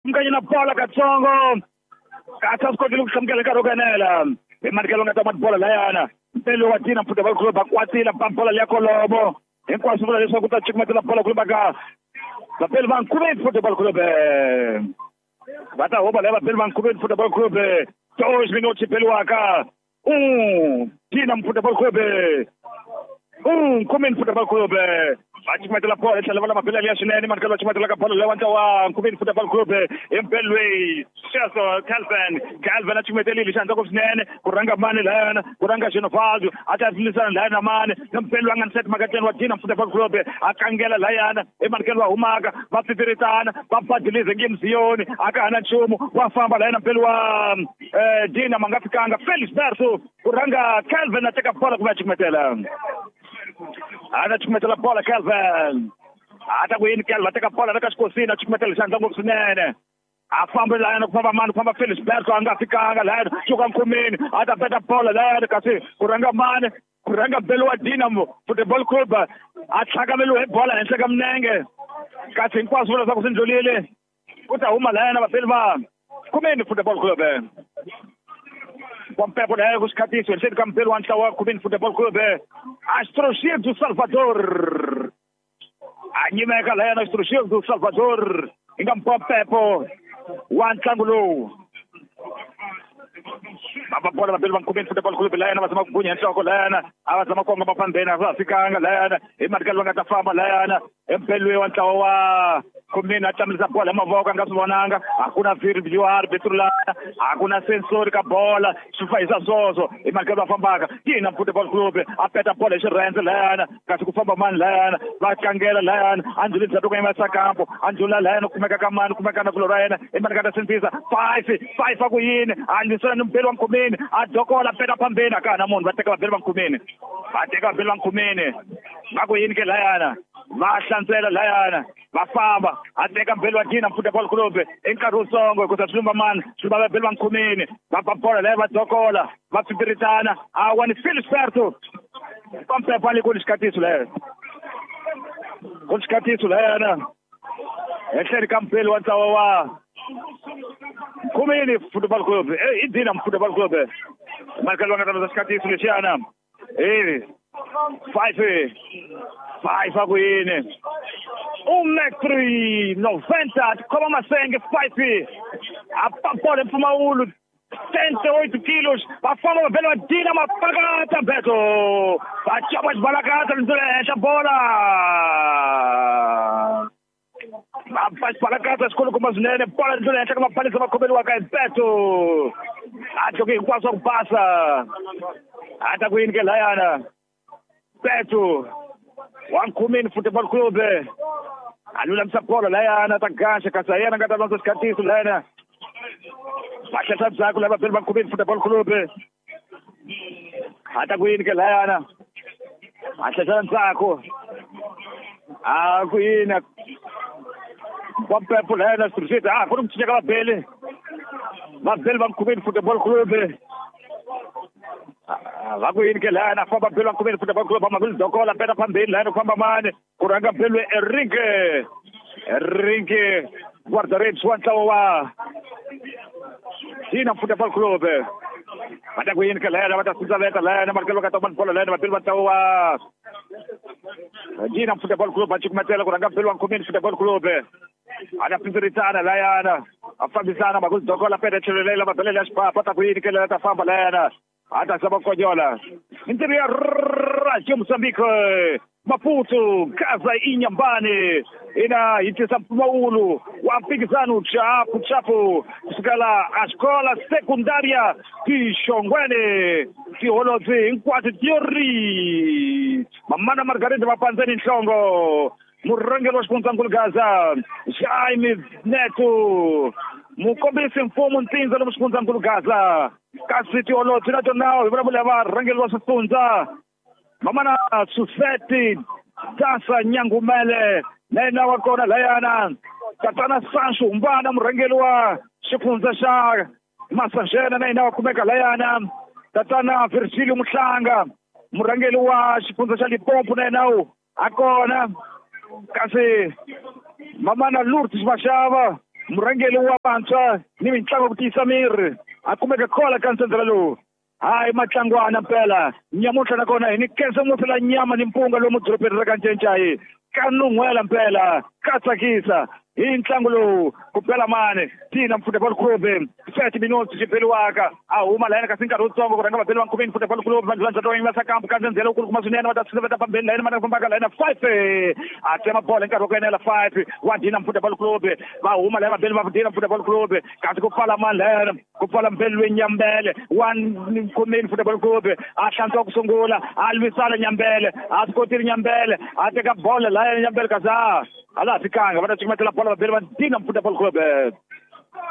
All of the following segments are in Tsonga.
Mukanyana bola katsongo. Kasi a swi kotile ku hlamukela nkarhi wo kanela. Hi manikelo nga ta ma bola layana. Mpelo wa Dinamo Football Club va kwatile ba bola liya kolomo. Hinkwaswo vula leswaku ta cukumetela bola ku ka vapeli va Nkhuveni Football Club. Va ta huma laya vapeli va Nkhuveni Football Club. 2 minutos beliwaka. Dinamo Football Club. Nkhuveni Football Club. Va cukumetela bola tlhela va lama bela liya swinene manikelo va cukumetela ka bola leyi wa ntlawa Nkhuveni Football Club hi mpelo loyi sweswo Calvin a cukumetelile xandla ku swinene ku rhanga mani layana ku rhanga Genovaldo a ta lwisana layana na mani na mpelo a nga ni set makateni wa Dinamo Football Club a kangela layana i manikelo va humaka va pfipfiritana va badilize nge mziyoni a ka ha na nchumu wa famba layana mpelo wa Dinamo a nga fikanga Felix Berto ku rhanga Calvin a teka bola ku va cukumetela. A ta cukumetela bola Calvin. A ta ku yini Calvin a teka bola la ka xikosini a cukumetela xandla ngopfu swinene. A famba layana ku famba mani ku famba Felix Berto a nga fikanga layana suka nkhumini a ta beta bola layana kasi ku rhanga mani ku rhanga belo wa Dinamo Football Club a tlhakameliwe hi bola henhla ka minenge kasi hinkwaswo vula leswaku swi ndlulile ku ta huma layana vapeli va Nkhumeni Football Club. Pompepo laya ku xikhatiso henhleni ka mupeli wa ntlawa wa Nkhumeni Football Club Astrogir do Salvador. A nyimeka layana Astrogir do Salvador hi nga Mpompepo wa ntlangu lowu. Va bola vapeli va Nkhumeni Football Club layana va zama ku gunya nhloko layana a va zama kongoma phambeni a va fikanga layana hi manikelo va nga ta famba layana empelweni wa ntlawa wa Nkhumeni a tlamulisa bola hi mavoko a nga swi vonanga a ku na VAR betrulana a ku na sensori ka bola swi fahisa swoswo hi manikelo va fambaka Dinamo Football Club a peta bola hi xirhendze layana kasi ku famba mani layana va tlangela layana a ndlhuli ndzhaku ka yena sakampo a ndlhula layana kumeka ka mani kumeka na kulo ra yena hi manikelo ta sindzisa 5 5 a ku yini a lwisana ni mubeli wa Nkhumeni a dokola peta phambeni a ka ha na munhu va teka vabeli va Nkhumeni va teka vabeli va Nkhumeni va ku yini ke layana va hlantswela layana va famba a teka mbeli wa Dinamo Football Club i nkarhi wutsongo hikuza swi lumba mani swi lumba vabeli va Nkhumeni va ba bola laya va dokola va pfipfiritana a wa ni Felix Berto Pompepo a le ku ni xikhatiso laya ku ni xikhatiso layana henhleni ka mupeli wa ntlawa wa Nkhumeni Football Club i Dinamo Football Club Michael va nga ta landza xikhatiso lexiyana 5 5 a ku yini 1,90 m khoma masenge 5 a pa bola mpfumawulo 78 kilos va famba va vhela va dina mapakata beto va copa xibalakata ndlela henhla bola va ba xibalakata xikulukumba swinene bola ndlela henhla ka mapalisa va khomeriwaka hi beto a tloke hinkwaswo ku basa a ta ku yini ke layana Beto wa Nkhumeni Football Club a lulamisa bola layana ta gaxa kasi a yena nga ta landza xikhatiso layana va tlhela ndzhaku lava vapeli va Nkhumeni Football Club a ta ku yini ke layana a tlhela ndzhaku a ku yini Pompepo layana switirhiseti a ku ri ku cinca ka vabeli vabeli va Nkhumeni Football Club va ku yini ke layana famba beli va Nkhumeni Football Club va dokola peta phambeni layana ku famba mani ku rhanga beli Enrique guarda-redes wa ntlawa wa Dinamo Football Club va ta ku yini ke layana va ta sindzaveta layana marikelo va ka ta bola layana vabeli va ntlawa wa Dinamo Football Club va cukumetela ku rhanga beli wa Nkhumeni Football Club a ta pfipfiritana layana a fambisana makuzi dokola peta tlhelo lela mabelela ya xipapa ta ku yini ke lela ta famba layana a ta zama konyola mintirho ya Radio Mozambique Maputo Gaza Inhambane ina yi tisa mpfumawulo wa mphikizano chapu chapu kusukela a xikola sekundaria tixongwene tiholobye hinkwato tiori mamana Margarida va pandzeni nhlongo murhangeri wa xifundzankulu Gaza Jaime Neto mukombisi mfumo ntsindza lomu xifundzankulu Gaza kasi tiholobye na tona hi vulavula varhangeri wa swifundza mamana Suseti Dasa Nyangumele na yena wa kona layana tatana Sancho Humbana murhangeri wa xifundza xa Massanjena na yena wa kumeka layana tatana Virgilio Muhlanga murhangeri wa xifundza xa Limpopo na yena a kona kasi mamana Lourdes Mashava Murhangeri wa vantshwa ni mitlangu ku tiyisa miri a kumeka kola ka ntsendzela lowu. Hayi matlangwana mpela nyamuntlha nakona hi ni khensa ngopfu la nyama ni mpunga lomu dorobeni ra ka Ncencai ka nun'hwela mpela ka tsakisa hi ntlangu lowu ku bela mani Dinamo Football Club 30 minutes xi beliwaka a huma layena kasi nkarhi wutsongo ku rhanga vabeli va Nkhumeni Football Club vanhu va ndzhato va sakambu ka ndzhendzhela wu kuma swinene va ta tshineta pambeni layena va ta fambaka layena 5 a tsema bolo hi nkarhi wa ku enela 5 wa Dinamo Football Club va huma layena vabeli va Dinamo Football Club kasi ku pfala mani layena ku pfala mbeli Nyambele wa Nkhumeni Football Club a hlantswa ku sungula a lwisana Nyambele a swi kotile Nyambele a teka bolo layena Nyambele kasi a ala fikanga va ta cukumetela bolo vabeli va Dinamo Football Club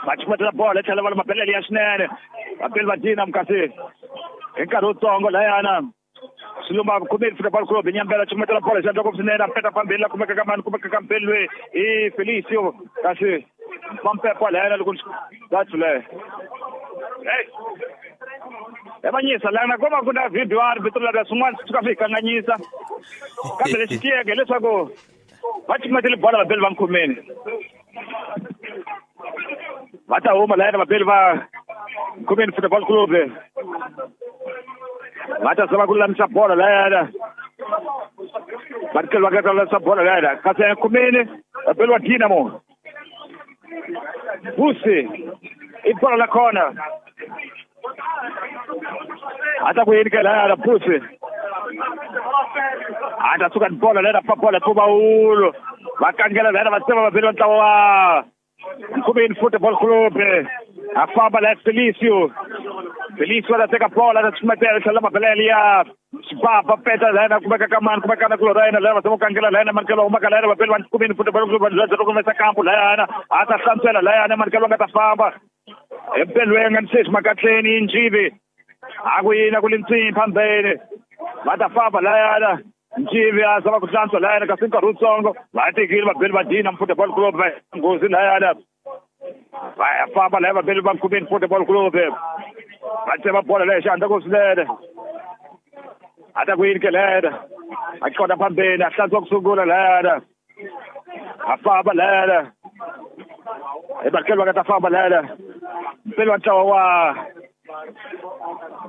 va cukumetela bolo tlhela va mabelele ya swinene vabeli va Dinamo kasi hi nkarhi wutsongo layana Silumba Nkhumeni Football Club Nyambele cukumetela bolo xandla ngopfu swinene a peta phambili la kumeka ka mani kumeka ka mbeli loyi i Felicio kasi Mampepa layana loko that's le evanyisa lana ko va ku na video a ri la swin'wana swi suka swi hi kanganyisa kambe lexi tiyeke hileswaku va cukumetele bolo vabeli va Nkhumeni va ta huma layena vabeli va Nkhumeni Football Club va ta zama ku lulamisa bolo layena va tlhela va ta lulamisa bolo layena kasi Nkhumeni vabeli va Dinamo Busi i bolo la khona a ta ku yini ke layana Busi a ta suka ni bolo layena pa bolo pfumawulo va kangela layena va tsema vabeli va ntlawa wa Nkhumeni Football Club a famba laya Felicio Felicio a ta teka bolo a ta cukumetela tlhela mabelele ya Xibaba peta layena kumeka ka mani kumeka na kulora yena laya va zama ku kangela layena manikelo humaka layena vabeli va Nkhumeni Football Club va za kumesa kampu layana a ta hlantswela layana manikelo nga ta famba empelweni nga ni sweswi makatleni Njivi a ku yini a ku li ntswini phambeni va ta famba layana Njivi a zama ku hlantswa layana kasi nkarhi wutsongo va tekile vabeli va Dinamo Football Club va nghozi layana va ya famba laya vabeli va Nkhumeni Football Club va tsema bolo leyi xandla ku swinene a ta ku yini ke layana a qonda phambeni a hlantswa ku sungula layana a famba layana hi manikelo va nga ta famba layana mpeli wa ntlawa wa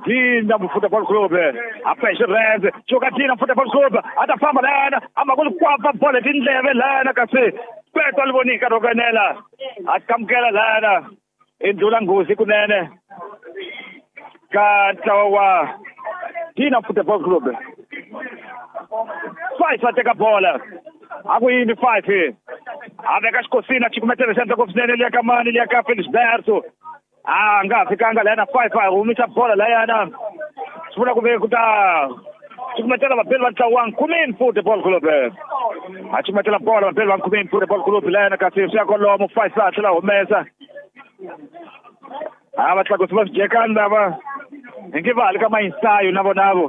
Dinamo Football Club a pexe rhenze cuka Dinamo Football Club a ta famba layana a ma ku li kwapa bolo tindleve layana kasi kweto li vonika ro enela a kamukela layana i ndlula nghozi kunene ka ntlawa wa Dinamo Football Club 5 va teka bola a ku yini 5 a veka xikosini a cukumetela xandla ngopfu swinene liya ka mani liya ka Felisberto a nga fikanga layana 5 a humisa bola layana swi vula ku ve ku ta cukumetela vabeli va ntlawa wa Nkhumeni Football Club a cukumetela bola vabeli va Nkhumeni Football Club layana kasi swi ya kolomo 5 a tlhela humesa a va tlakusi va swidyekani lava hi nge va hali ka mayinsayo na vonavo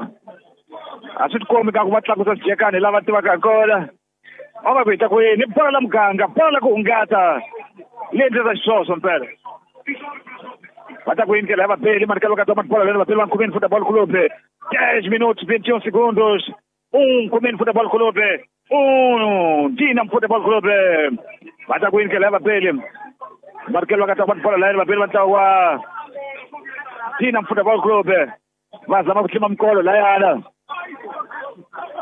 a swi tikombi ka ku va tlakusa swidyekani hi lava tivaka hi kona va va ku hi ta ku yini bolo la muganga bolo la ku hungata leyi endlisa xiswoswo mpela va ta ku yini ndlela ya vabeli manikelo ka toma bola lena vabeli va Nkhumeni Football Club 10 minutos 21 segundos 1 Nkhumeni Football Club 1 Dinamo Football Club va ta ku yini ndlela ya vabeli manikelo ka toma bola lena vabeli va ntlawa wa Dinamo Football Club va zama ku tlima mikolo layana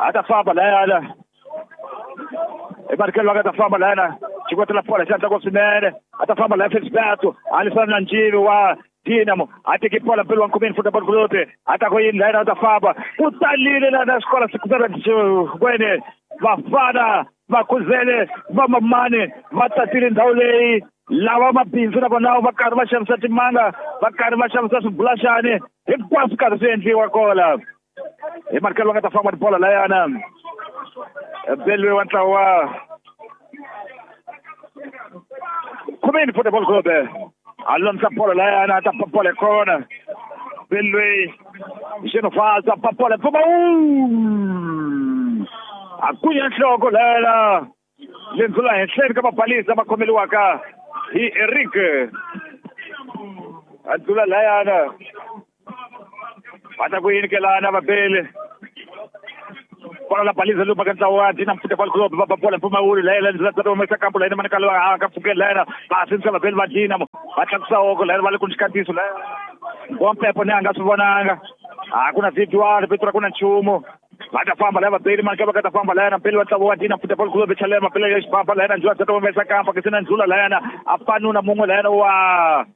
a ta famba layana emanikelo va ka ta famba layana xikwetela bola xandla ngopfu swinene a ta famba laya Felisberto a lwisana na Njivi wa Dinamo a teki bola mpeli wa Nkhumeni Football Club a ta ku yini layana a ta famba ku talile lana xikolo sikwene vafana va khuzele va mamani va tatile ndhawu leyi lava mabindzu na vona va karhi va xavisa timanga va karhi va xavisa swibulaxani hinkwaswo karhi swi endliwa kola hi manikelo va nga ta famba tibola layana belwe wa ntlawa wa Nkhumeni Football Club a lulamisa bolo layana a ta pa bolo kona belwe Xenofaza pa bolo pfumawulo a kunya nhloko layana lendzula henhleni ka mabalisa ma khomeliwaka hi Eric a dzula layana va ta ku yini ke lana vabeli va Bola la baliza lumba ka ntlawa wa Dinamo Football Club va ba bola mpfumawulo layela ndzi humesa kampo layena manikalo a ka pfukeli layena va sindzisa vabeli va Dinamo va tlakusa hoko layena va le ku xikatiso layena Bompepo ni a nga swi vonanga a ku na VAR vito ra ku na nchumu va ta famba laya vabeli mani ka va ka ta famba layana mpeli wa ntlawa wa Dinamo Football Club chalela mapele ya xibaba layena ndzula ta humesa kampo ke sina ndzula layena a panuna mun'we layena wa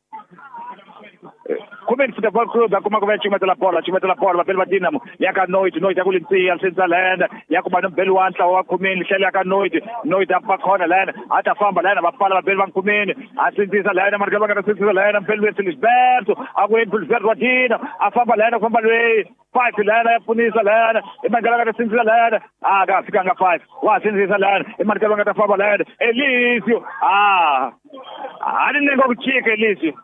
Khumeni Football Club a kuma ku va cukumetela bola cukumetela bola vabeli va Dinamo ya ka Noid Noid ya ku lintsiya sindzisa layena ya kuma ni mbeli wa ntlawa wa Khumeni tlhela ya ka Noid Noid a pa khona layena a ta famba layena va pfala vabeli va Khumeni a sindzisa layena mani ka va nga ta sindzisa layena mbeli we Felisberto a ku yini Felisberto wa Dinamo a famba layena ku famba lweyi 5 layena ya pfunisa layena i mani ka va nga ta sindzisa layena a ka fikanga 5 wa sindzisa layena i mani ka va nga ta famba layena Elisio a a ni nenga ku chika Elisio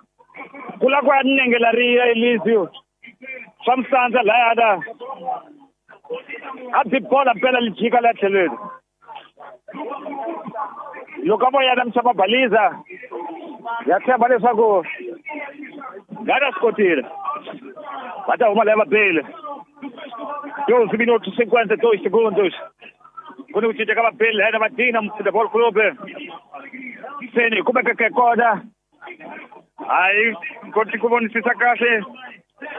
kula ku ya nengela riya Elisio swa musandza layana a byi bola mpela li jika la tlhelweni loko a vo yana misava baliza ya tshemba leswaku ngana swi kotile va ta huma laya vabeli 12 minutos 52 segundos ku ni ku cinca ka vabeli layena va Dinamo Football Club se ni kumekeke kona hayi koti ku vonisisa kahle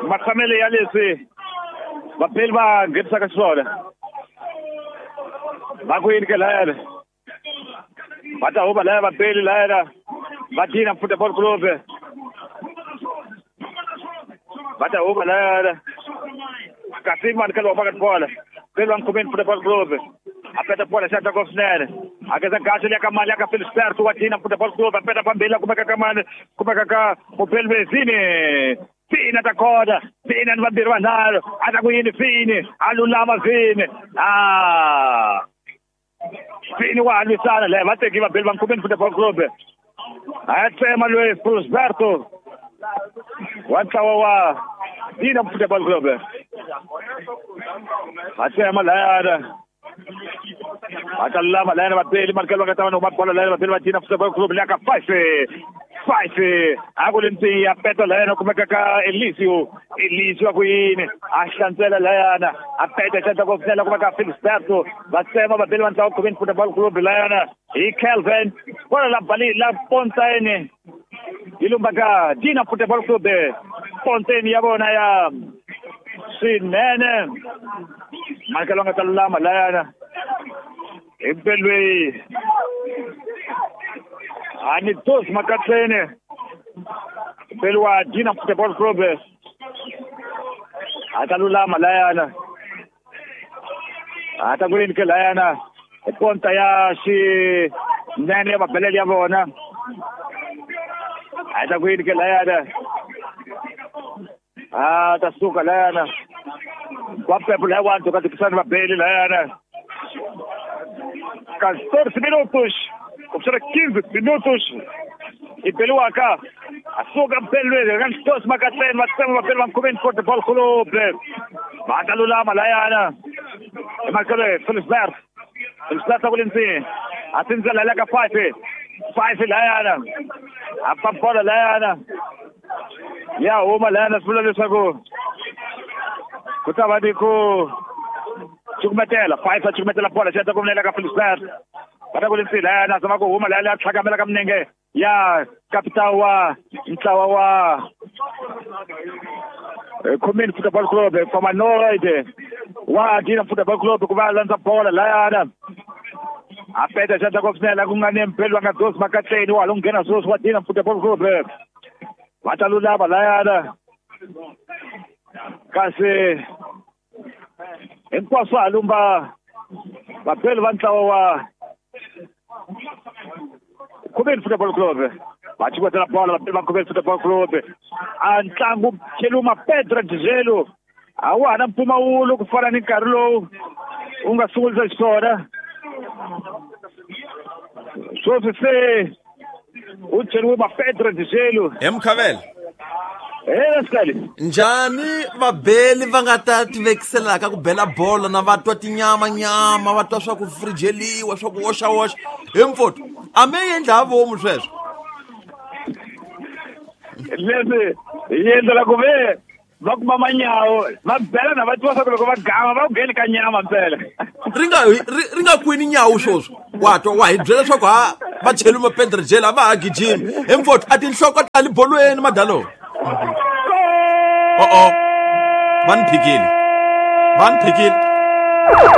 matshamelo ya leswi vabeli va nghenisaka xiswona va ku yini ke layena va ta huma laya vabeli layena va Dinamo Football Club va ta huma layena kasi mani ka lowa va ka bola beli va Nkhumeni Football Club a peta bola xandla ko swinene a keza gaxa liya ka mali ya ka Felisberto wa Dinamo Football Club a peta phambili a kumeka ka mani kumeka ka mubeli Vini Vini a ta kona Vini ni vambirhi vanharhu a ta ku yini Vini a lulama Vini a Vini wa ha lwisana leyi va teki vabeli va Nkhumeni Football Club a tsema loyi Felisberto wa ntlawa wa Dinamo Football Club va tsema layana va ta lulama layana vabeli malikelo va nga ta va ni huma bola layana vabeli va Dinamo Football Club leya ka 5 a ku ri ya peta layana kumeka ka Elisio Elisio a ku yini a hlantswela layana a peta xandla ko pfela kumeka Felisberto va tsema vabeli va ntlawa Nkhumeni Football Club layana hi Kelvin bola la bali la Pontaine yi lumba ka Dinamo Football Club Pontaine ya vona ya swinene malikelo nga ta lulama layana hi mpelweyi a ni dos makatsene mpeli wa Dinamo Football Club a ta lulama layana a ta ku yini ke layana hi ponta ya xinene ya mabelele ya vona a ta ku yini ke layana a ta suka layana wa pepo laya wa ntoka tikisana vabeli layana 14 minutos começaram 15 minutos e Peluaca a suga Pelue gantos Macatén Matsema Pelua Nkhumeni Football Club va lulama layana Marcelo Felisberto Felisberto ku lintsini a tindzela la ka 5 layana a pa bola layana ya huma layana swi vula leswaku ku ta va ni ku cukumetela 5 a cukumetela bola xi ta ku ka Felisberto va ta ku lintsini layana zama ku huma layana ya tlhakamela ka minenge ya kapitao wa ntlawa wa Nkhumeni Football Club fama Noid wa Dinamo Football Club ku va landza bola layana a peta xandla ko swinene ku nga ni mpeli va nga dos makatleni wa lo nghena sweswi wa Dinamo Football Club va ta lulama layana kasi hinkwaswo ha lumba vabeli va ntlawa wa Nkhumeni Football Club va cukumetela bola vabeli va Nkhumeni Football Club a ntlangu cheluma Pedro Dzelo a wa ha na mpfumawulo ku fana ni nkarhi lowu wu nga sungulisa xiswona sweswi se u cheriwe ma Pedro Dzelo he Mkhavela he njhani vabeli va nga ta tivekiselaka ku bela bolo na va twa tinyama nyama va twa swa ku frijeliwa swa ku woxawoxa he mfoto a mi endla ha vomu sweswo leswi hi endlela ku ve Va kuma manyawo va bela na va tiva swa ku loko va gama va ku ngheni ka nyama mpela. Ri nga kwini nyawo swoswo wa twa wa hi byela leswaku ha va cheli mapedrejele a va ha gijimi hi mfotho a tinhloko ta le bolweni madalo. O-o, va ni phikile, va ni phikile.